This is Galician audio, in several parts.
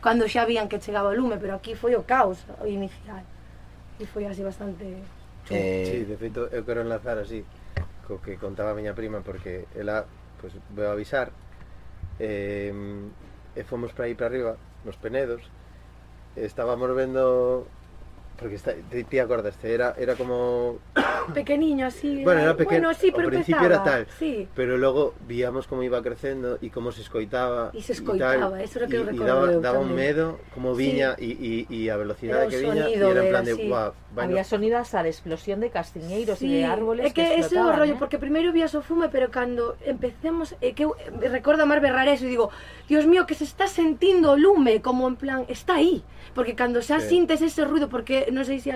cando xa vían que chegaba o lume, pero aquí foi o caos o inicial e foi así bastante Sí, de feito eu quero enlazar así co que contaba a miña prima, porque ela, pois, veo avisar e fomos para aí para arriba nos Penedos, estábamos vendo, porque ti acordaste, era como pequeniño así, bueno, era pequeno, sí, pero ao principio era tal, sí. pero logo víamos como iba crecendo e como se escoitaba e se escoitaba, eso era que eu e recordo daba un medo como viña e a velocidade que viña, e era en plan de guau, había sonidas a de explosión de castiñeiros e de árboles que ese é o rollo, porque primeiro vías o fume, pero cando empecemos, que eu recordo a mar berrar eso e digo, Dios mío, que se está sentindo o lume, como en plan, está aí, porque cando xa sintes ese ruido, porque non sei se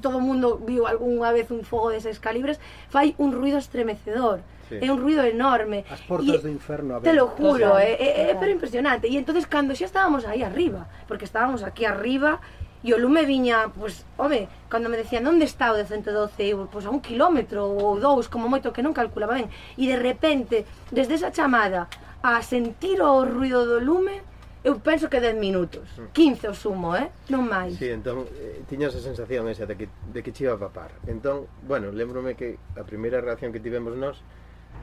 todo o mundo viu algunha vez un fogo deses calibres, fai un ruido estremecedor, é un ruido enorme. As portas do inferno a ver. Te lo juro, é pero impresionante. E entonces cando xa estábamos aí arriba, porque estábamos aquí arriba, e o lume viña, pues, home, cando me decían onde está o de 112, pues a 1 kilómetro ou 2, como moito, que non calculaba ben, e de repente, desde esa chamada a sentir o ruido do lume, eu penso que 10 minutos, 15 o sumo, non máis. Sí, entón, tiñas a sensación esa de que che iba a papar. Entón, bueno, lembrome que a primeira reacción que tivemos nós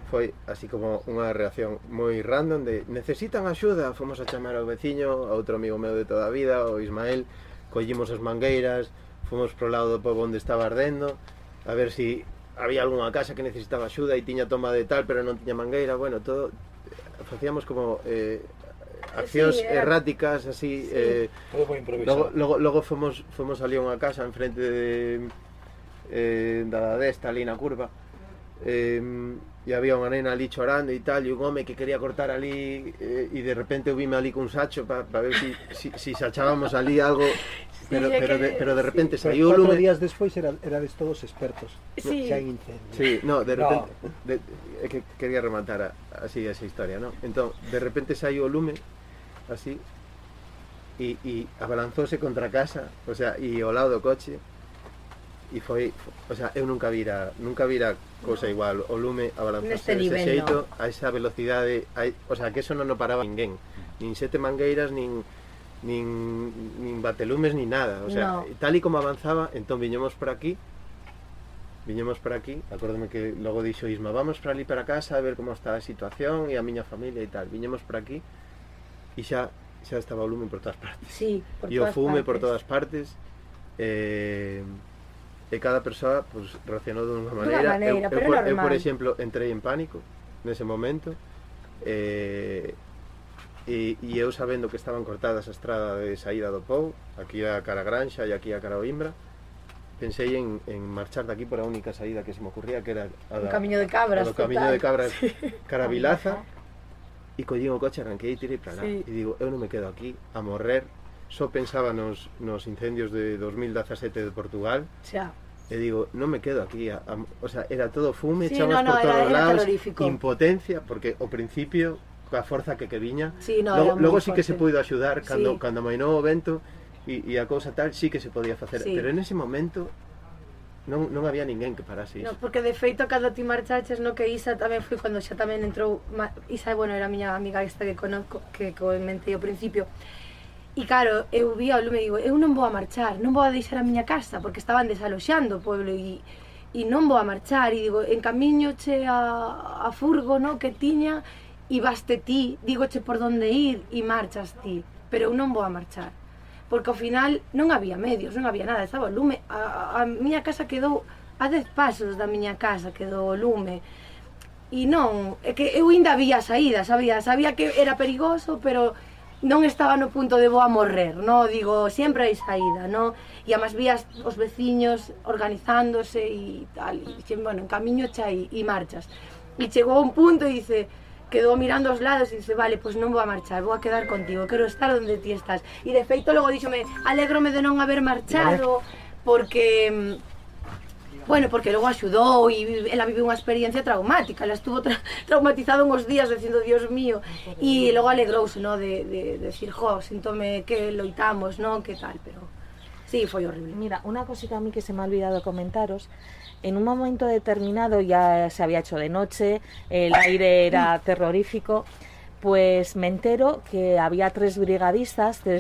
foi así como unha reacción moi random de necesitan axuda, fomos a chamar ao veciño, a outro amigo meu de toda a vida, o Ismael, collimos as mangueiras, fomos pro lado do pobo onde estaba ardendo, a ver si había algunha casa que necesitaba axuda e tiña toma de tal, pero non tiña mangueira, bueno, todo, facíamos como accións erráticas así, todo moi improvisado. Logo fomos ali a unha casa enfrente da desta ali na curva, e había unha nena ali chorando e tal, e un home que quería cortar ali, e de repente eu vime ali cun sacho para ver si sachábamos ali algo, pero de repente saiu o lume. 4 días despois erades todos expertos xa en incendios. Sí, no, de repente é que quería rematar así esa historia, ¿no? Entón, de repente saiu o lume así e abalanzóse contra a casa, o sea, e ao lado do coche, e foi, o sea, eu nunca vira cousa igual, o lume abalanzóse dese xeito, a esa velocidade, o sea, que eso non o paraba ninguén, nin 7 mangueiras, nin batelumes, nin nada, o sea, tal e como avanzaba, entón viñemos por aquí, acórdome que logo dixo Isma, vamos para ali para casa a ver como está a situación e a miña familia e tal, viñemos por aquí e xa estaba o lume por todas partes, e o fume por todas partes, e cada persoa pues, reaccionou dunha maneira. Eu, por exemplo, entrei en pánico nese momento, e eu sabendo que estaban cortadas a estrada de saída do Pou, aquí a cara a Granxa e aquí a cara a Oimbra, pensei en marchar daqui por a única saída que se me ocurría, que era o Camiño de Cabras, cara a Vilaza, e collín o coche, arranquei e tirei para lá, e digo, eu non me quedo aquí a morrer. Só pensaba nos incendios de 2017 de Portugal, e digo, non me quedo aquí, o sea, era todo fume, chamas por todos lados, impotencia, porque ao principio, coa forza que viña, logo sí que se puido axudar, cando amainou o vento e a cousa tal, sí que se podía facer, pero en ese momento non había ninguén que parase iso. Porque de feito, cando ti marchaches, que Isa tamén foi cando xa tamén entrou, Isa, bueno, era a miña amiga esta que conozco, que comentei ao principio. E claro, eu vi ao lume e digo, eu non vou a marchar, non vou a deixar a miña casa, porque estaban desaloxando o pueblo e non vou a marchar, e digo, en camiño che a furgo que tiña, e vaste ti, digoche por donde ir e marchas ti, pero eu non vou a marchar, porque ao final non había medios, non había nada, estaba o lume, a miña casa quedou a 10 pasos da miña casa, quedou o lume, e non, é que eu ainda había saída, sabía que era perigoso, pero non estaba no punto de vou a morrer, digo, sempre hai saída, e además vías os veciños organizándose e tal, e bueno, en camiño xa e marchas, e chegou a un punto e dice, quedou mirando aos lados e dice, vale, pois non vou a marchar, vou a quedar contigo, quero estar onde ti estás, e de feito logo díxome, alégrome de non haber marchado, porque Bueno, porque logo axudou e ela vive unha experiencia traumática, ela estuvo traumatizada uns días dicindo, Dios mío, e logo alegrouse, no, de decir, jo, síntome que loitamos, no, que tal, pero sí, foi horrible. Mira, unha cosita a mí que se me ha olvidado comentaros, en un momento determinado ya se había hecho de noche, el aire era terrorífico, pues me entero que había 3 brigadistas, 3